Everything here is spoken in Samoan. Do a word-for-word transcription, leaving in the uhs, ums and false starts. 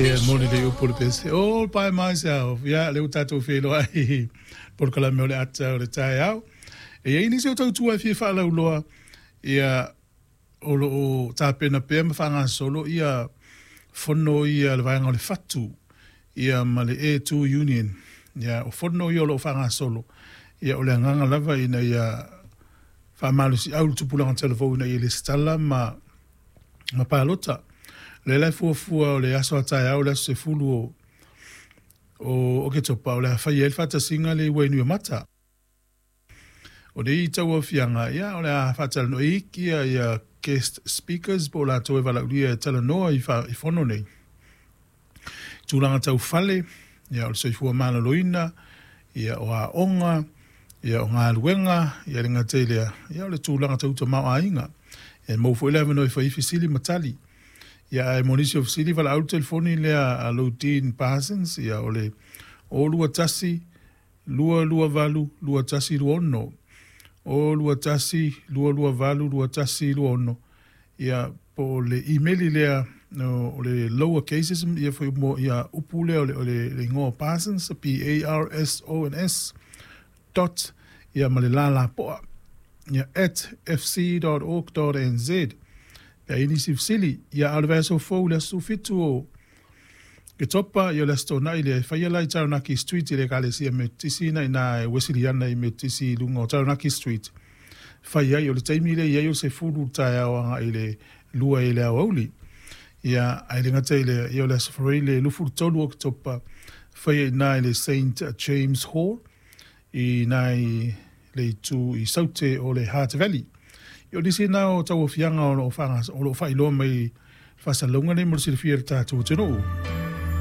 Ia moni le upu o le pese, "All by myself." Ia, lea ua tatou feiloai i polokalame o le Ata o le Taeao. E i ai nisi o tautua e fia faalauloa, ia o lo o tapena pea ma faagasolo ia fono ia le vaega o le Fatu ia ma le A two Union. Ia o fono ia o lo o faagasolo, ia o le agaga lava ina ia faamalosiau le tupulaga talavou ina ia lesitala ma ma palota. Le la e fuafua o le aso a taeao le aso sefulu o o Oketopa o le a fai ai le faatasiga le i Wainuiomata. O nei tauaofiaga, ia o le a faatalanoa iki ia, ia guest speakers po o latou e valaaulia e talanoa i, fa, i fono nei. Tulaga tau fale, ia o le soifua maloloina, ia o aoga, ia o galuega, ia le gata i lea, ia o le tulaga tau tamaoaiga. E maua foi le avanoa e fai ai fesili ma tali. Ia ae mo nisi o fesili valaau le telefoni lea a lou Dean Parsons, ia o le o lua tasi, lua lua valu, lua tasi lua ono. O lua tasi, lua lua valu, lua tasi lua ono. Ia po o le email lea no, o le lower cases ia foi mo ia upu lea o le, o le, le igoa Parsons, P A R S O N S dot ia ma le lalapoa ia at f c dot org dot n z. Pe ai nisi fesili, ia a o le vaiaso fou le aso fitu o Oketopa, ia o le aso Toonai lea e faia la i Taranaki Street i le ekalesia Metotisi na ina e Wesleyan i Metotisi i luga o Taranaki Street. Fai ai o le taimi lea i ai o se fulu taeao agai i le lua i le aoauli. Ia ai le gata i le ia o le aso Faraile le lufu tolu o Oketopa fai ai na i le Saint James Hall i nai le itu i Saute o le Hutt Valley. Ia o nisi na o tauaofiaga o lo o whaingas, o lo o whailoa mai whasalauga nei mo le silafia le tatou atunuu.